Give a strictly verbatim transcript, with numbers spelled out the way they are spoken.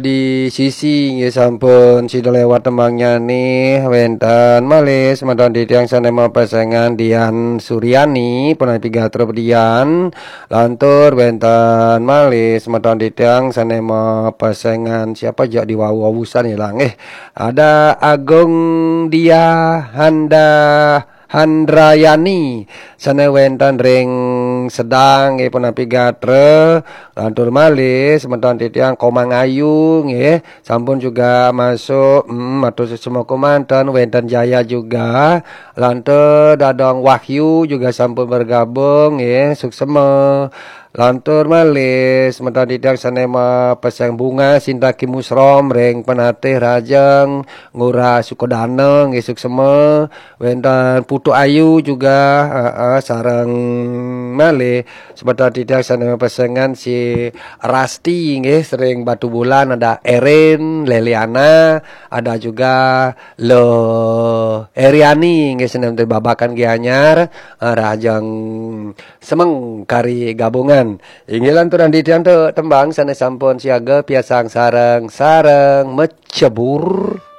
Di sisi nggih sampun sida lewat tembangnya nih, wenten malih semeton titiang sane mapesengan Dian Suryani, punapi gatra Dian, lantur wenten malih semeton titiang sane mapesengan siapa jak di wau wusan ilang eh. Ada Agung Dia Handa Handrayani sane wenten ring Sedang nggih punapi gatra, lantur malih semeton titiang Komang Ayu nggih sampun juga masuk, mm, matur suksma kumanten, wenten Jaya juga, lantur Dadong Wahyu juga sampun bergabung nggih, suksma. Lantur malih semeton titiang sane mapeseng Bunga Sinta Kimusrom ring Penatih Rajeng Ngurah Sukodana nggih, suksma. Wenten Putu Ayu juga, heeh, sareng malih semeton titiang sane mapesengan si Rasti nggih, sering Batu Bulan, ada Erin, Leliana, ada juga Lo Eriani nggih, senen babakan Gianyar, eh, Rajeng Semeng kari gabungan. Inggih lanturan titiang tu tembang sane sampun siaga piasang sareng-sareng mecebur.